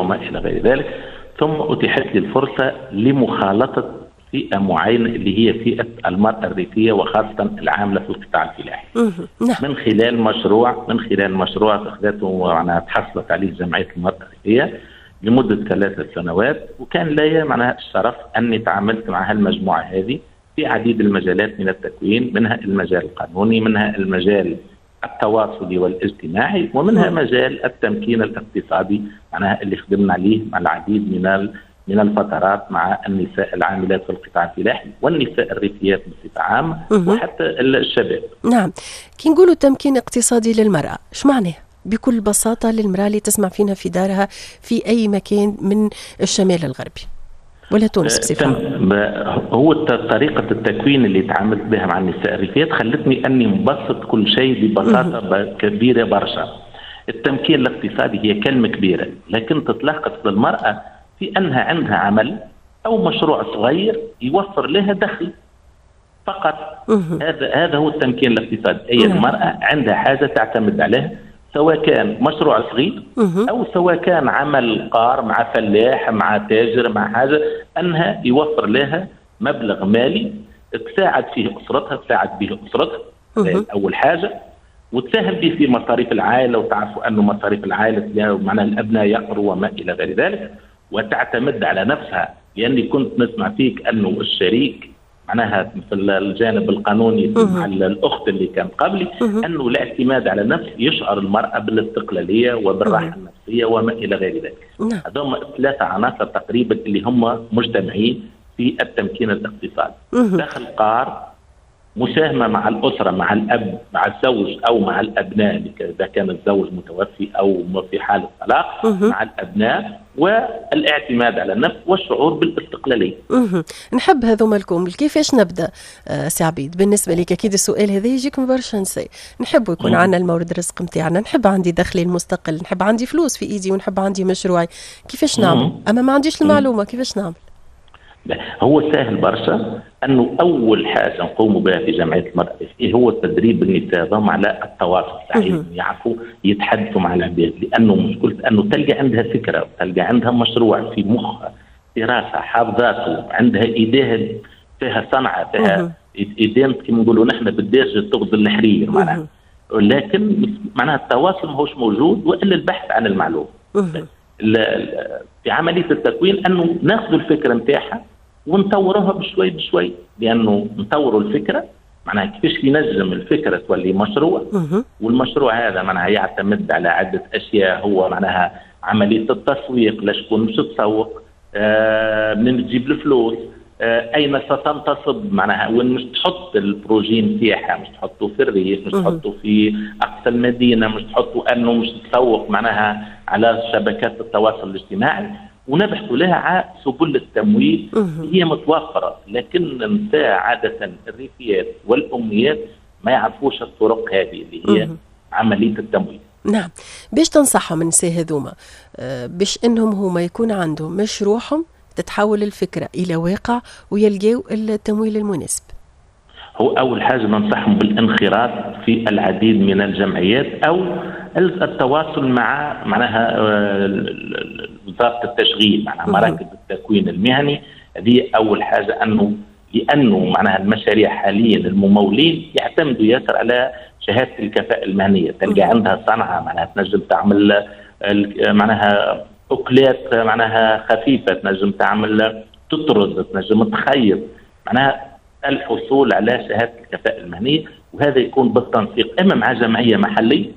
وما إلى غير ذلك. ثم أتيحت لي الفرصة لمخالطة فئة معينة اللي هي فئة المرأة الريفية، وخاصة العاملة في القطاع الفلاحي. نعم. من خلال مشروع أخذته، معناها تحصلت عليه جمعية المرأة الريفية لمدة 3 سنوات، وكان لي معناها الشرف أني تعاملت مع هالمجموعة هذه في عديد المجالات من التكوين، منها المجال القانوني، منها المجال التواصلي والاجتماعي، ومنها مجال التمكين الاقتصادي، معناها اللي خدمنا عليه مع العديد من الفترات مع النساء العاملات في القطاع الفلاحي والنساء الريفيات بصفة عامة وحتى الشباب. نعم، كي نقولوا تمكين اقتصادي للمرأة، ايش معناه؟ بكل بساطة للمرأة اللي تسمع فينا في دارها في أي مكان من الشمال الغربي ولا تونس بصفة عامة. هو طريقة التكوين اللي تعاملت بها مع النساء الريفيات خلتني أني نبسط كل شيء ببساطة كبيرة برشا. التمكين الاقتصادي هي كلمة كبيرة، لكن تتلخص للمرأة في أنها عندها عمل أو مشروع صغير يوفر لها دخل فقط. هذا هو التمكين الاقتصادي، أي المرأة عندها حاجة تعتمد عليها، سواء كان مشروع صغير او سواء كان عمل قار مع فلاح، مع تاجر، مع حاجه، انها يوفر لها مبلغ مالي تساعد فيه اسرتها، تساعد به اسرتها اول حاجه، وتساهم به في مصاريف العائله، وتعرفوا انه مصاريف العائلة معناها الابناء يقروا وما الى غير ذلك، وتعتمد على نفسها، لاني كنت نسمع فيك انه الشريك معناها في الجانب القانوني مع الاخت اللي كانت قبلي، انه الاعتماد على النفس يشعر المراة بالاستقلاليه وبالراحه النفسية وما الى غير ذلك. هذول ثلاثة عناصر تقريبا اللي هم مجتمعين في التمكين الاقتصادي: دخل قار، مساهمة مع الاسره، مع الاب، مع الزوج او مع الابناء اذا كان الزوج متوفي او في حاله طلاق، مع الابناء، والاعتماد على النفس والشعور بالاستقلاليه. نحب هذوما الكل. كيفاش نبدا سي عبيد؟ بالنسبة لك اكيد السؤال هذا يجيك من برشا نساء. نحب يكون عندنا المورد الرزق نتاعنا، نحب عندي دخلي المستقل، نحب عندي فلوس في ايدي، ونحب عندي مشروعي. كيفاش نعمل؟ اما ما عنديش المعلومه، كيفاش نعمل؟ هو سهل برشا، انه اول حاجة نقوم بها في جمعية المراة هو تدريب النساء على التواصل الصحيح، يعرفوا يتحدثوا مع العباد، لانه مشكلة انه تلقى عندها فكره، تلقى عندها مشروع في مخها، في راسها، حافظاته، عندها ايديها فيها صنعه، فيها ايدين كما نقولوا نحن بالدارجة تغزل الحرير معناها، لكن معناها التواصل ماهوش موجود والا البحث عن المعلومه. في عملية التكوين انه ناخذ الفكرة نتاعها ونطوروها بشوي بشوي، لانه نطوروا الفكرة معناها كيفاش ينجم الفكرة تولي مشروع، والمشروع هذا معناها يعتمد على عده اشياء، هو معناها عملية التسويق، لشكون مش تسوق، منين تجيب الفلوس، اين ستنتصب، معناها وين مش تحط ال projet نتاعها، مش تحطه في الريف، مش تحطه في اقصى المدينه، مش تحطه انه مش تسوق معناها على شبكات التواصل الاجتماعي، ونبحث لها على سبل التمويل. هي متوفره، لكن النساء عادة الريفيات والاميات ما يعرفوش الطرق هذه اللي هي عملية التمويل. نعم، باش تنصحهم النساء هذوما باش انهم هما يكون عندهم مشروعهم، تتحول الفكرة الى واقع ويلقاو التمويل المناسب؟ هو اول حاجة ننصحهم بالانخراط في العديد من الجمعيات او التواصل مع معناها وزارة التشغيل، معناها مراكز التكوين المهني. هذه اول حاجه، انه لانه معناها المشاريع حاليا الممولين يعتمدوا ياسر على شهادة الكفاءة المهنيه. تلقى عندها صنعه، معناها تنجم تعمل معناها اكلات معناها خفيفه، تنجم تعمل تطرز، تنجم تخيط، معناها الحصول على شهادة الكفاءة المهنيه، وهذا يكون بالتنسيق اما مع جمعية محليه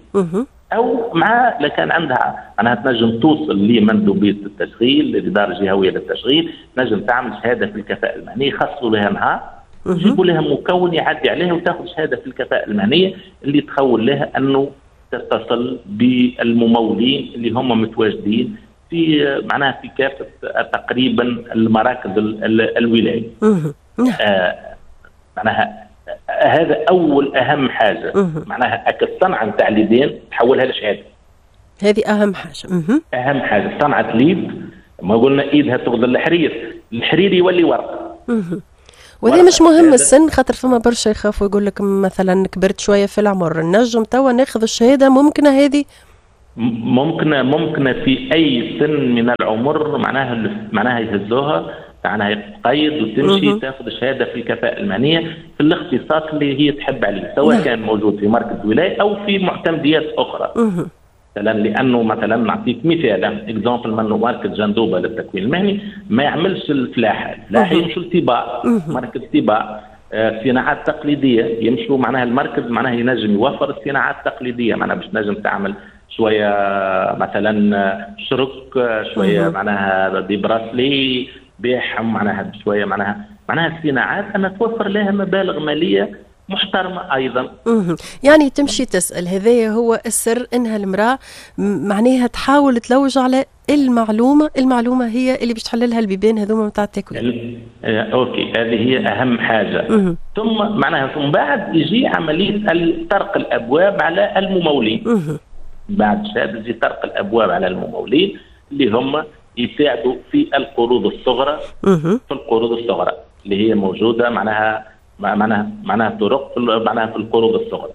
او مع لكان عندها معناها تنجم توصل لمندوبيه التشغيل، للادارة الجهوية للتشغيل، تنجم تعمل شهادة في الكفاءة المهنيه، يخصصوا لها نهار، يجيبوا لها مكون يعدي عليها وتاخذ شهادة في الكفاءة المهنية اللي تخول لها انه تتصل بالممولين اللي هم متواجدين في معناها في كافة تقريبا المراكز الولايه. معناها هذا اول اهم حاجه، معناها الصنعة نتاع اليدين تحولها لشهاده. هذه اهم حاجه. اهم حاجه، صنعه اليد، ما قلنا ايدها تغزل الحرير، الحرير يولي ورق. وهذا مش مهم السن، خاطر فما برشا يخافوا، يقول لك مثلا كبرت شوية في العمر، نجم توا ناخذ الشهاده؟ ممكنة هذه؟ ممكن في اي سن من العمر معناها يهزوها، معناها تقيد وتمشي تاخذ شهادة في الكفاءة المهنية في الاختصاص اللي هي تحب عليه، سواء كان موجود في مركز ولاية او في معتمديات اخرى. مثلا لانه مثلا نعطيك مثال exemple، منه مركز جندوبه للتكوين المهني ما يعملش الفلاحة، الفلاحة يمشوا لتباع، مركز تباع. صناعات تقليدية يمشوا معناها المركز معناها ينجم يوفر الصناعات التقليدية، معناها باش تنجم تعمل شوية مثلا شرك، شوية معناها des bracelets بيعهم، معناها شوية معناها الصناعات أن توفر لها مبالغ ماليه محترمة أيضا. يعني تمشي تسأل، هذا هو السر، إنها المرأة معناها تحاول تلوج على المعلومة، المعلومة هي اللي باش تحللها البيبان هذوما نتاع التكوين. OK، هذه هي أهم حاجة. ثم معناها ثم بعد يجي عملية طرق الأبواب على الممولين. بعد شهادة يجي طرق الأبواب على الممولين اللي هم يساعدوا في القروض الصغرى، في القروض الصغرى اللي هي موجودة معناها معناها معناها طرق معناها في القروض الصغرى.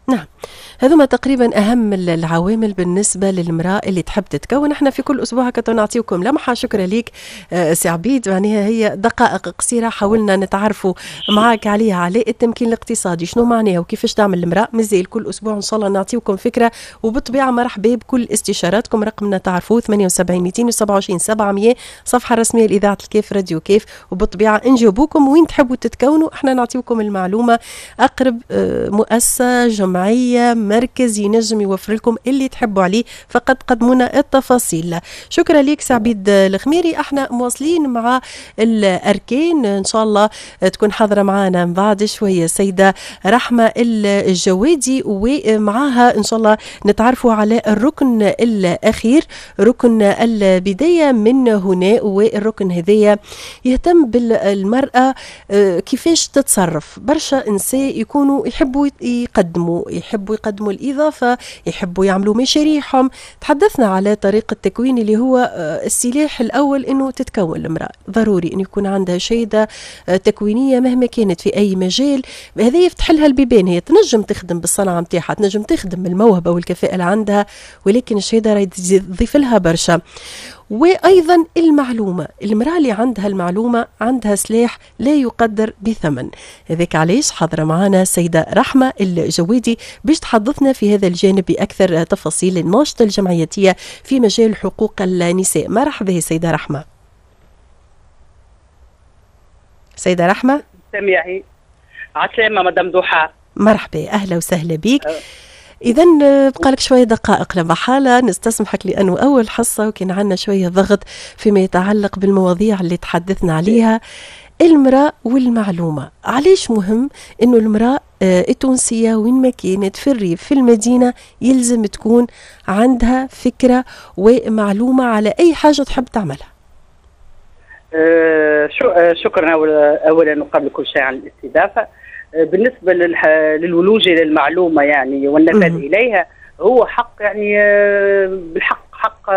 نعم، هذوما تقريبا أهم العوامل بالنسبة للمرأة اللي تحب تتكون. احنا في كل أسبوع هكا نعطيكم لمحة. شكرا لك سي عبيد، معناها هي دقائق قصيرة حاولنا نتعرفوا معاك عليها، على التمكين الاقتصادي شنو معناها وكيفاش تعمل المرأة. مازال كل أسبوع إن شاء الله نعطيكم فكرة، وبالطبيعة مرحبا بكل استشاراتكم. رقمنا تعرفوه 78 227 700، صفحة رسمية لإذاعة الكيف راديو كيف، وبالطبيعة نجاوبوكم وين تحبوا تتكونوا، احنا نعطيكم المعلومة. أقرب مؤسسة، جمعية، مركز ينجم يوفر لكم اللي تحبوا عليه، فقط قدمونا التفاصيل. شكرا لك سي عبيد الخميري. احنا مواصلين مع الأركان، إن شاء الله تكون حاضرة معنا من بعد شوية السيدة رحمة الجوادي، ومعاها إن شاء الله نتعرفوا على الركن الأخير، ركن البداية من هنا. والركن هذايا يهتم بالمرأة كيفاش تتصرف. برشا نساء يكونوا يحبوا يقدموا، يحبوا يقدموا الإضافة، يحبوا يعملوا مشاريعهم. تحدثنا على طريقة التكوين اللي هو السلاح الأول إنه تتكون المرأة، ضروري إنه يكون عندها شهادة تكوينية مهما كانت في أي مجال. هذا يفتح لها البيبان، هي تنجم تخدم بالصنعة متاعها، تنجم تخدم الموهبة والكفاءة اللي عندها، ولكن الشهادة راهي تضيف لها برشا. وأيضا المعلومة، المرأة اللي عندها المعلومة عندها سلاح لا يقدر بثمن. هذاك علاش حاضرة معنا السيدة رحمة الجوادي باش تحدثنا في هذا الجانب بأكثر تفاصيل، الناشطة الجمعياتية في مجال حقوق النساء. مرحبا سيدة رحمة. سيدة رحمة سميعي عسلامة مدام ضحى. مرحبا، أهلا وسهلا بك. إذا بقى لك شوية دقائق لمحالة، نستسمحك لأنه أول حصة وكان عندنا شوية ضغط فيما يتعلق بالمواضيع اللي تحدثنا عليها. المرأة والمعلومة، علاش مهم إنه المرأة التونسية وين ما كانت، في الريف في المدينة، يلزم تكون عندها فكرة ومعلومة على أي حاجة تحب تعملها؟ شكرا أولا وقبل كل شيء على الاستضافة. بالنسبة للولوج إلى المعلومة يعني والنفاذ إليها، هو حق يعني بالحق حق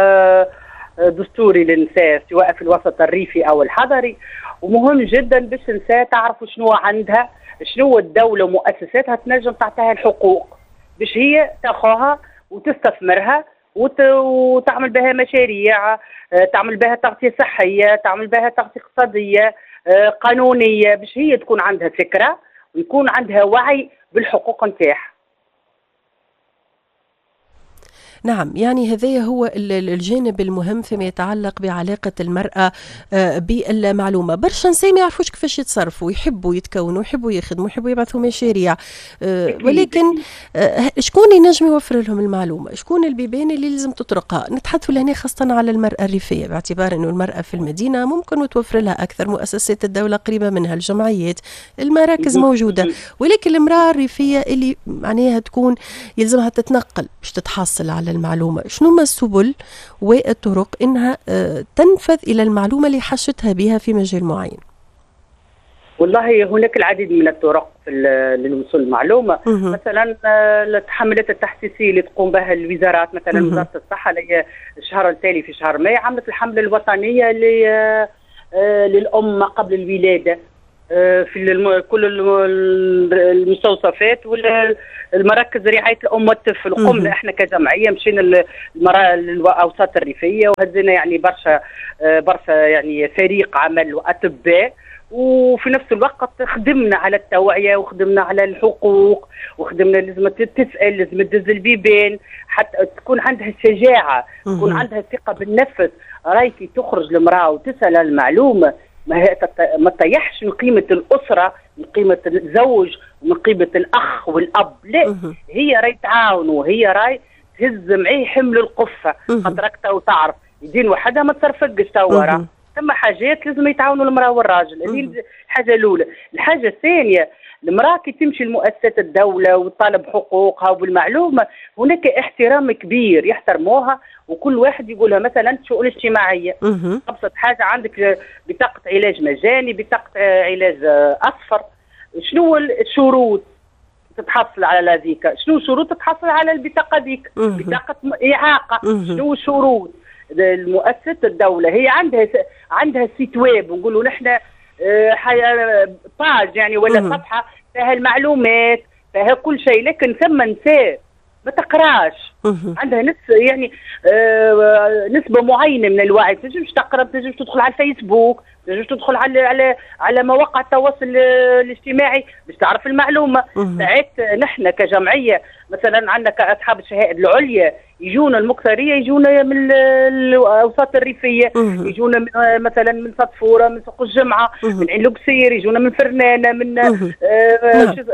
دستوري للنساء سواء في الوسط الريفي أو الحضري. ومهم جدا باش النساء تعرف شنو عندها، شنو الدولة ومؤسساتها تنجم تعطيها الحقوق باش هي تاخوها وتستثمرها وتعمل بها مشاريع، تعمل بها تغطية صحية، تعمل بها تغطية اقتصادية قانونية، باش هي تكون عندها فكرة ويكون عندها وعي بالحقوق نتاعها. نعم، يعني هذا هو الجانب المهم فيما يتعلق بعلاقة المرأة بالمعلومة. برشا نساء ما يعرفوش كيفاش يتصرفوا، يحبوا يتكونوا، يحبوا يخدموا، يحبوا يبعثوا مشاريع، ولكن شكون ينجم يوفر لهم المعلومة؟ شكون البيبان اللي لازم تطرقها؟ نتحدثوا لهنا خاصة على المرأة الريفية، باعتبار أنه المرأة في المدينة ممكن توفر لها أكثر، مؤسسات الدولة قريبة منها، الجمعيات، المراكز موجودة، ولكن المرأة الريفية اللي معناها تكون يلزمها تتنقل باش تتحصل على المعلومة، شنو ما السبل والطرق إنها تنفذ إلى المعلومة اللي حشتها بها في مجال معين؟ والله هناك العديد من الطرق للوصول للمعلومة. مثلا الحملات التحسيسية اللي تقوم بها الوزارات، مثلا وزارة الصحة اللي الشهر التالي في شهر ماي عملت الحملة الوطنية للأم قبل الولادة. في كل المستوصفات والمراكز رعاية الام والطفل. وقمنا احنا كجمعية مشينا الاوساط الريفية وهزينا يعني برشا برشا يعني فريق عمل واطباء، وفي نفس الوقت خدمنا على التوعية وخدمنا على الحقوق وخدمنا لازم تسال، لازم تدز البيبان حتى تكون عندها الشجاعة، تكون عندها الثقة بالنفس. راي كي تخرج المراة وتسال المعلومة ما تطيحش من قيمة الاسرة، من قيمة الزوج، ومن قيمة الاخ والاب، لا هي راي تعاون وهي راي تهز معاه حمل القفه، خاطرك تو تعرف يدين وحدها ما تصرفقش تو، ثم حاجات لازم يتعاونوا المراة والراجل. هذه الحاجة الاولى. الحاجة الثانية، المراة كي تمشي لمؤسسات الدولة وتطالب حقوقها وبالمعلومه، هناك احترام كبير يحترموها، وكل واحد يقولها مثلا الشؤون الاجتماعية، ابسط حاجة عندك بطاقة علاج مجاني، بطاقة علاج اصفر، شنو الشروط تتحصل على هذيك؟ شنو الشروط تتحصل على البطاقة ذيك؟ بطاقة اعاقه، شنو الشروط؟ المؤسسة الدولة هي عندها site web، نقولوا نحن page يعني ولا صفحة فيها المعلومات فيها كل شيء، لكن ثم نساء ما تقراش، عندها يعني نسبه معينة من الوعي، تنجمش تقرا، تنجمش تدخل على الفيسبوك، تنجمش تدخل على على مواقع التواصل الاجتماعي باش تعرف المعلومة. ساعات نحن كجمعية مثلا عندنا كاصحاب الشهائد العليا يجونا المكثريه، يجونا من الاوساط الريفية، يجونا من مثلا من صدفوره، من سوق الجمعة، من عين لوكسير، يجونا من فرنانه، من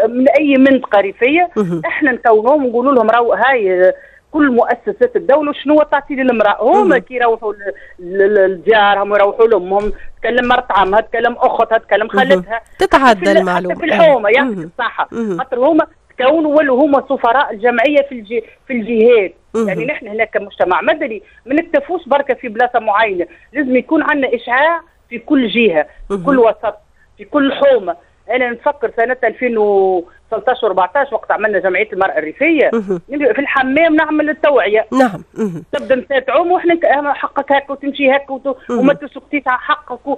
من اي منطقة ريفيه. احنا نكونوهم ونقولوا لهم راهو هاي كل مؤسسات الدولة شنو تعطي للمراة. هما كي يروحوا لديارهم ويروحوا لامهم، تكلم مرت عمها، تكلم اختها، تكلم خالتها، تتعدى المعلومة في الحومه يعني الصحة، خاطر هما تكونوا ولوا هما سفراء الجمعية في الجهات. يعني نحن هناك كمجتمع مدني ما نكتفوش بركة في بلاصة معينة، لازم يكون عندنا اشعاع في كل جهة، في كل وسط، في كل حومه. انا نفكر سنة 2013 و14 وقت عملنا جمعية المراة الريفية، في الحمام نعمل التوعية. نعم. تبدا نساء تعوم واحنا حقك هكا وتمشي هكا وما تسكتيش على حقك،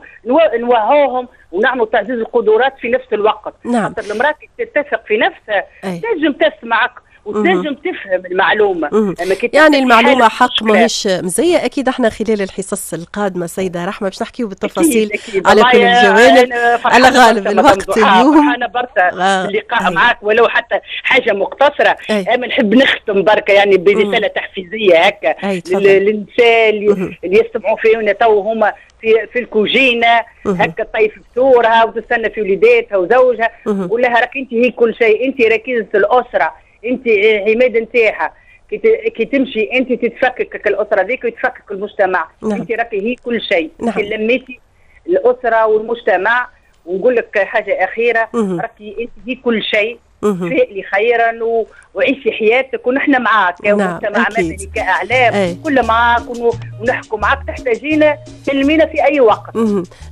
نوعوهم ونعملوا تعزيز القدرات في نفس الوقت. نعم. خاطر المراة كي تتفق في نفسها تنجم تسمعك وتنجم تفهم المعلومة. يعني المعلومة حق ماهيش مزية. اكيد احنا خلال الحصص القادمة سيده رحمه باش نحكيو بالتفاصيل أكيد. على كل الجوانب. على غالب الوقت اليوم انا برشا اللقاء معاك ولو حتى حاجة مقتصرة. اما نحب نختم بركة يعني برسالة تحفيزيه هكا للنساء اللي يستمعوا فينا تو، هما في الكوجينه هكا طيف فطورها وتستنى في وليداتها وزوجها، قول لها راك انت هي كل شيء، انت ركيزة الاسرة، انت عماد نتاعها، كي تمشي انت تتفكك الاسرة ذيك ويتفكك المجتمع. نعم. انت راكي هي كل شيء. نعم. انت لميتي الاسرة والمجتمع. ونقول لك حاجة اخيرة، راكي انت هي كل شيء، فائلي خيرا وعيشي حياتك ونحن معاك كمجتمع مدني كاعلام كل معاك ونحكوا معاك، تحتاجينا تكلمينا في اي وقت.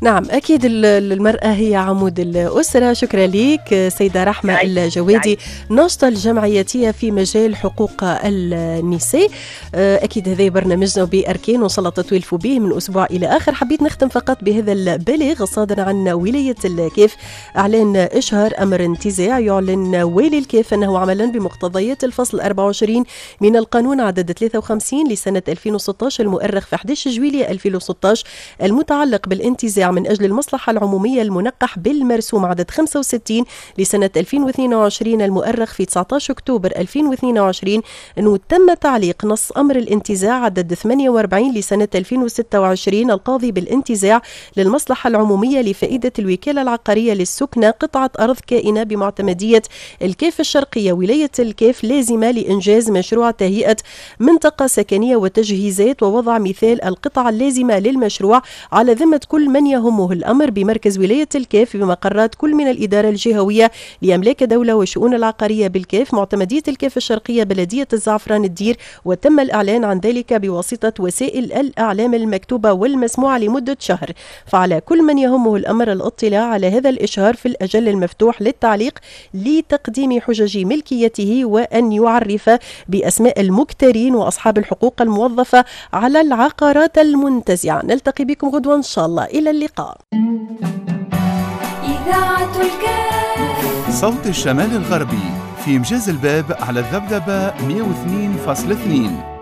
نعم اكيد المراة هي عمود الاسرة. شكرا لك سيده رحمه الجوادي، ناشطة الجمعياتيه في مجال حقوق النساء. اكيد هذا برنامجنا باركان وان شاء الله تتولفوا به من اسبوع الى اخر. حبيت نختم فقط بهذا البلاغ الصادر عن ولاية الكاف، اعلان اشهار امر انتزاع. يعلن والي الكاف أنه عملا بمقتضيات الفصل 24 من القانون عدد 53 لسنة 2016 المؤرخ في 11 جويلية 2016 المتعلق بالانتزاع من أجل المصلحة العمومية المنقح بالمرسوم عدد 65 لسنة 2022 المؤرخ في 19 أكتوبر 2022 أنه تم تعليق نص أمر الانتزاع عدد 48 لسنة 2026 القاضي بالانتزاع للمصلحة العمومية لفائدة الوكالة العقارية للسكنة قطعة أرض كائنة بمعتمدية الكاف الشرقية ولاية الكاف لازمة لإنجاز مشروع تهيئة منطقة سكنية وتجهيزات ووضع مثال القطع اللازمة للمشروع على ذمة كل من يهمه الأمر بمركز ولاية الكاف بمقرات كل من الإدارة الجهوية لأملاك دولة وشؤون العقارية بالكاف معتمدية الكاف الشرقية بلدية الزعفران الدير، وتم الإعلان عن ذلك بواسطة وسائل الإعلام المكتوبة والمسموعة لمدة شهر. فعلى كل من يهمه الأمر الاطلاع على هذا الإشهار في الأجل المفتوح للتعليق لتقديم حجج ملكيته وأن يعرف بأسماء المكترين وأصحاب الحقوق الموظفة على العقارات المنتزعة. نلتقي بكم غدوة إن شاء الله، إلى اللقاء. إذاعة الكاف. صوت الشمال الغربي في مجاز الباب على الذبذبة 102.2.